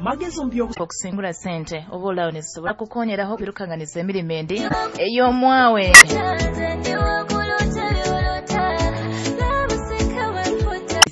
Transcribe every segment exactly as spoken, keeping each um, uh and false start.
Magezi omu by'obu Okusingura sente oba olaawo nezisobola kukonyeraho kwirukanganiza emirimo endi ey'omwawe.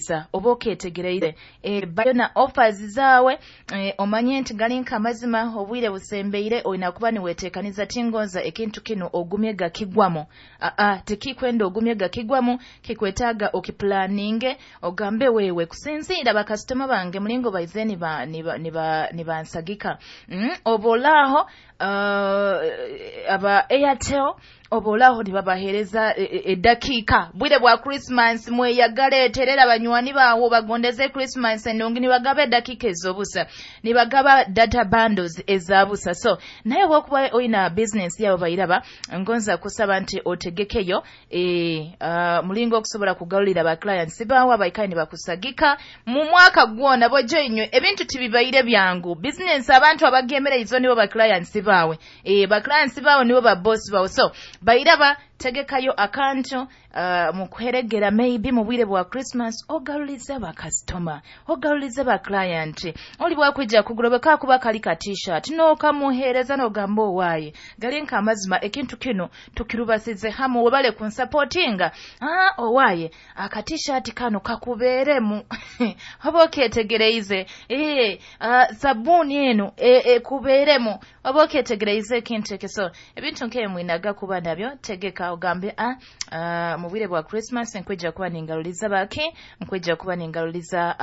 Sa oba oketegereire e, bayo na offers zaawe e, omanye nti gali nka amazima obwire busembeire, olina kuba niweteekaniza. Tingonza ekintu kino ogumye gakigwamu. Aa, tikikwenda ogumye gakigwamu, kikwetaaga okipulaninge, ogambe wewe kusinziira bakasitoma bange mulingo baize niba niba niba nibansagika mm, oba olaaho uh, aba Airtel oba olaaho nibabaheereza edakiika bwire bwa Christmas, mweyagale, terera banywani baawo bagondeze Christmas ennungi, nibagaba edakiika ez'obusa, nibagaba data bundles ezabusa. So naye bwokuba oyina business yabo bayiraba, ngonza kusaba nti otegekeyo e, uh, mulingo okusobola kugalulira ba clients baawo abaikaye nibakusagika mu mwaka gwona. Bojjo inywe ebintu tibibaire byangu. Business abantu abagemereizo nibo ba clients baawe, e, ba clients baawe nibo ba boss baawe. So bayiraba, tegekayo akantu uh, mukuheregera maybe mu bwire bwa Christmas, ogalulize bakasitoma, ogalulize ba client. Oli bwakwija kugula bwekakuba kali ka T-shirt n'okamuheereza n'ogamba, "Owaaye, gali nka amazima ekintu kino tukirubasize hamu, webale kunsupportinga. Ah, owaaye, aka T-shirt kano kakubeeremu," oba okyetegereize. Eh, uh, sabuuni eno ekubeeremu, oba okyetegereize ekintu ekyo. So ebintu nk'ebyo mwinaga kuba nabyo. Tegeka ogambe, ah, uh, mu bwire bwa Christmas nkwija kuba ningaluliza baki, nkwija kuba ningaluliza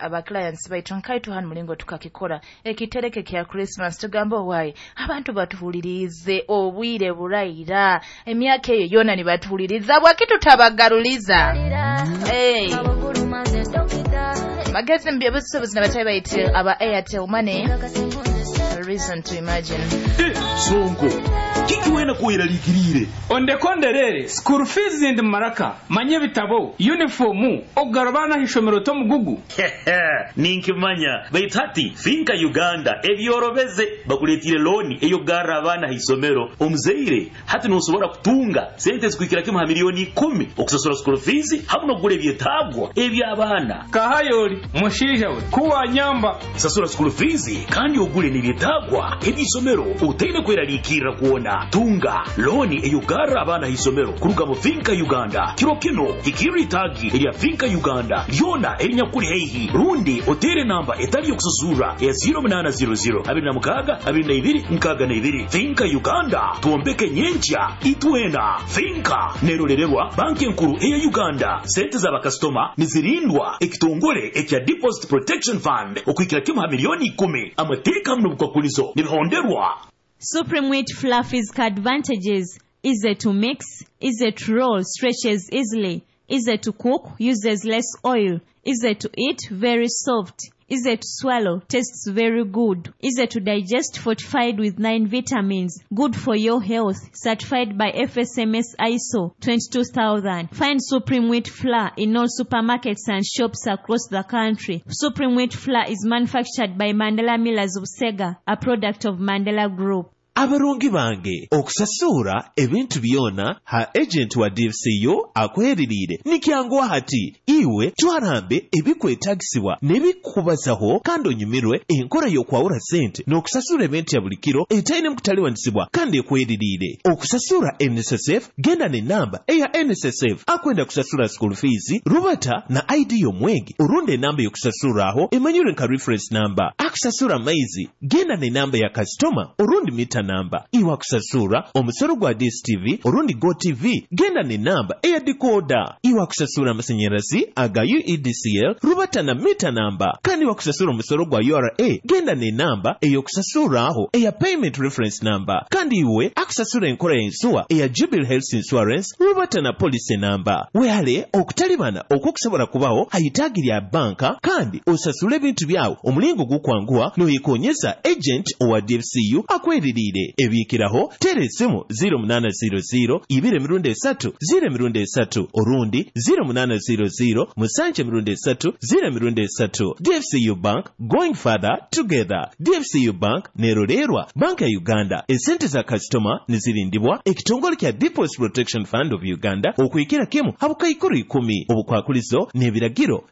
aba clients baitu. Nkaitu hano mulingo tukakikora ekitereke kya Christmas, tugamba, "Owaaye, abantu batuwulirize obwire burayira, emyaka eyo yona nibatuwuliriza, bwaki tutabagaluliza?" Hey. Magezi mu byobusuubuzi nabatayi baiti aba Airtel Money, a reason to imagine. Sonko, kiki wena kuweralikirire? Ondekonderere school fees ndi maraka manye bitabo, uniform, okugarura abaana ah'ishomero tomugugu. Ninkimanya, baitu hati Finka Uganda ebyorobeze, bakuletire looni eyokugarra abaana haisomero. Omuzaire hati nosobora kutunga sente zikuhikira kimu ha miliyoni ikumi okusasura school fees hamu n'okugura ebyetaagwa eby'abaana. Kahayoli mushaija we kuwanyamba. Sasura school fees kandi ogule n'ebyetaagwa eby'isomero otaine kweraliikirra kwona. Tunga looni eyokugarra abaana haisomero kuruga mu Finka Uganda. Kiro kino hikirra itaagi erya Finka Uganda lyona erinyakuli haihi, rundi otere namba etali yokusasurra eya zero munaana zero zero abiri na mukaaga abiri na ibiri nkaaga na ibiri. Finka Uganda, twombeke nyenkya itwena. Finka nerolererwa Banki Enkuru eya Uganda. Sente z'abakasitoma nizirindwa ekitongole ekya Deposit Protection Fund okuhikira kimu ha miliyoni ikumi. Amateeka hamu n'obukwakulizo nibihonderwa. Supreme Wheat Fluffy's advantages: easy to mix, easy to roll, stretches easily, easy to cook, uses less oil, easy to eat, very soft, easy to swallow, tastes very good, easy to digest, fortified with nine vitamins, good for your health, certified by F S M S I S O twenty-two thousand. Find Supreme Wheat Flour in all supermarkets and shops across the country. Supreme Wheat Flour is manufactured by Mandela Millers of Sega, a product of Mandela Group. Abarungi bange, okusasura ebintu byona ha agent wa D F C U akweririire nikyanguwa hati. Iwe twarambe ebikwetagisibwa n'ebikubazaho kandi onyumirwe enkola y'okwawula sente n'okusasura ebintu ya buli kiro etaine mukutaliwanisibwa kandi ekweririire. Okusasura N S S F, genda n'enamba eya N S S F. Akwenda kusasura school fees, rubata na I D y'omwegi orundi enamba y'okusasuraaho emanyirwe nka reference number. Akusasura amaizi, genda n'enamba ya kasitoma orundi mita namba. Iwe akusasura omusolo gwa D S T V orundi Go T V, genda n'enamba eya decoder. Iwe akusasura amasanyalazi aga U E D C L, rubata na mita namba. Kandi wakusasura omusolo gwa U R A, genda n'enamba ey'okusasuraaho eya payment reference number. Kandi iwe akusasura enkola y'ensuwa eya Jubilee Health Insurance, rubata na policy namba. Wehale okutalibana okwokusobola kubaho hayitaagi lya banka kandi osasule ebintu byawe omulingo gukwanguwa noyekonyeza agent owa D F C U akweririire. Ebiikiraho, teera esimu zero munaana zero zero ibiri emirundi esatu zero emirundi esatu orundi zero munaana zero zero musanju emirundi esatu zero emirundi esatu. D F C U Bank, going further together. D F C U Bank nerolerwa Banka ya Uganda. Esente za kasitoma nizirindibwa ekitongole kya Deposit Protection Fund of Uganda okuhikira kimu habukaikuru ikumi. Obukwakulizo n'ebiragiro.